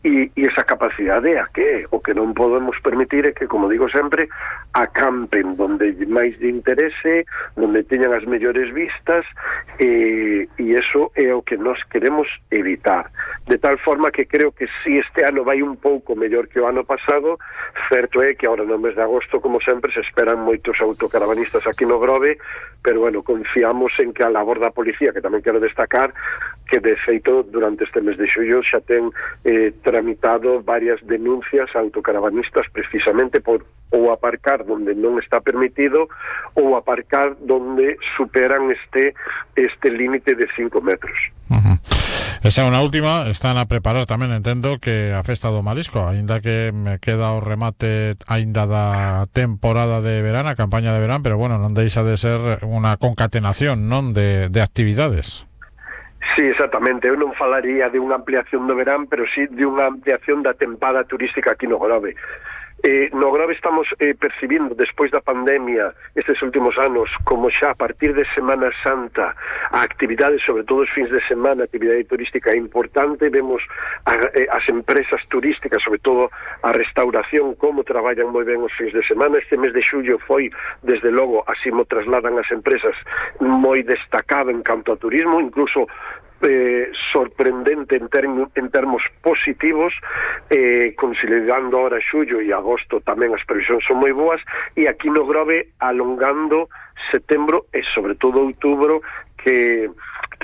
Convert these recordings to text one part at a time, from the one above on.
e esa capacidade a que o que non podemos permitir é que, como digo sempre, acampen donde máis de interese, donde teñan as mellores vistas, e eso é o que nós queremos evitar, de tal forma que creo que si este ano vai un pouco mellor que o ano pasado, certo é que agora no mes de agosto, como sempre, se esperan moitos autocaravanistas aquí no Grove, pero bueno, confiamos en que a labor da policía, que tamén quero destacar, que de feito durante este mes de xullo xa ten tramitado varias denuncias a autocaravanistas precisamente por ou aparcar donde non está permitido ou aparcar donde superan este límite de 5 metros. Uh-huh. Esa é unha última, están a preparar tamén, entendo, que a Festa do Marisco, aínda que me queda o remate aínda da temporada de verán, a campaña de verán, pero bueno, non deixa de ser unha concatenación, non, de actividades. Sí, exactamente. Eu non falaría de unha ampliación do verán, pero sí de unha ampliación da tempada turística aquí no Grove. No Grove estamos percibindo, despois da pandemia, estes últimos anos, como xa a partir de Semana Santa, a actividade, sobre todo os fins de semana, a actividade turística é importante. Vemos as empresas turísticas, sobre todo a restauración, como traballan moi ben os fins de semana. Este mes de xullo foi, desde logo, así mo trasladan as empresas, moi destacado en canto a turismo, incluso sorprendente en termos positivos, considerando ahora xullo e agosto tamén as previsións son moi boas, e aquí no Grove alongando setembro e sobre todo outubro, que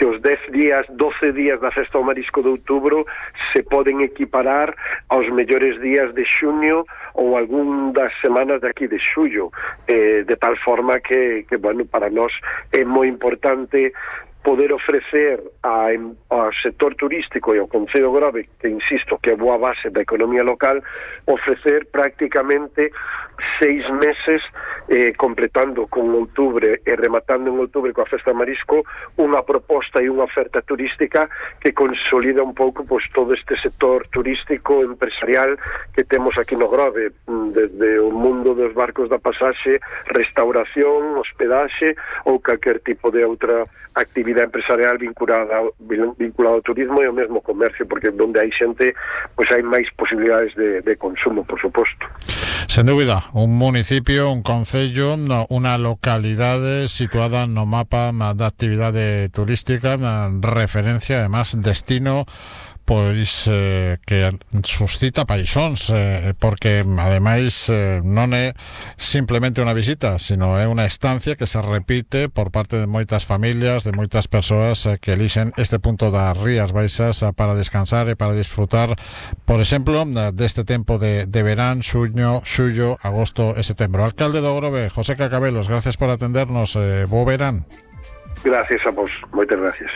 os 10 días, 12 días da Festa do Marisco de outubro se poden equiparar aos mellores días de xuño ou algún das semanas de aquí de xullo, de tal forma que bueno, para nós é moi importante poder ofrecer ao sector turístico e ao Concello de Grove, que insisto que é boa base da economía local, ofrecer prácticamente 6 meses, completando con outubro e rematando en outubro coa Festa de Marisco, unha proposta e unha oferta turística que consolida un pouco pois todo este sector turístico empresarial que temos aquí no Grove, desde o mundo dos barcos da pasaxe, restauración, hospedaxe ou calquer tipo de outra actividade empresarial vinculada ao turismo e ao mesmo comercio, porque onde hai xente, pois hai máis posibilidades de consumo, por suposto. Sen dúbida, un municipio, un concello, unha localidade situada no mapa da actividade turística, referencia, además, destino pois que suscita paixóns, porque ademais non é simplemente unha visita, sino é unha estancia que se repite por parte de moitas familias, de moitas persoas que elixen este punto das Rías Baixas para descansar e para disfrutar, por exemplo, deste tempo de verán, xuño, xullo, agosto e setembro. Alcalde do Grove, José Cacabelos, gracias por atendernos, bo verán. Gracias a vos, moitas gracias.